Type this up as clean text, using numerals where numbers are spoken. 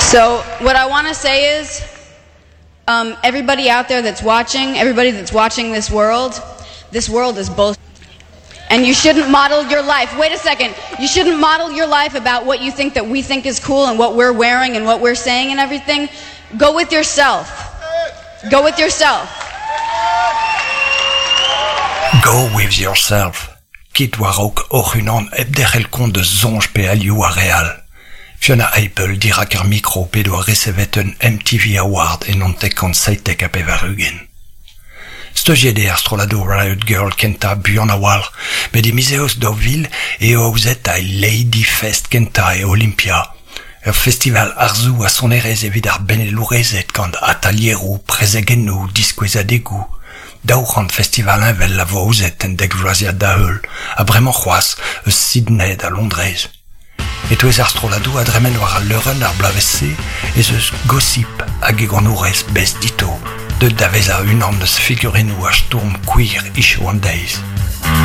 So what I want to say is um, everybody out there that's watching, everybody that's watching this world, this world is bullshit. And you shouldn't model your life. Wait a second. You shouldn't model your life about what you think that we think is cool and what we're wearing and what we're saying and everything. Go with yourself. Go with yourself. Go with yourself. Kit war-raok hoc'h-unan hep derc'hel kont eus soñj pe alioù ar re all. Fiona Apple dirak ar mikro p'he doa resevet un MTV Award e 1997. Steuziet eo ar strolladoù Riot Girl kentañ buan a-walc'h met e miz Eost 2000 eo aozet al Lady Fest kentañ e Olympia, ur festival arzoù ha sonerezh evit ar benelourezed gant atalieroù, prezegennoù, diskouezadegoù. 200 festival heñvel a vo aozet en dekvloaziad da-heul, ha bremañ c'hoazh eus Sydney da Londrez. E-touez ar strolladoù a dremen war al leurenn ar bloavezh-se ez eus Gossip hag e ganourez Bess Ditto, deuet da vezañ unan eus figurennoù ar stourm queer hiziv an deiz.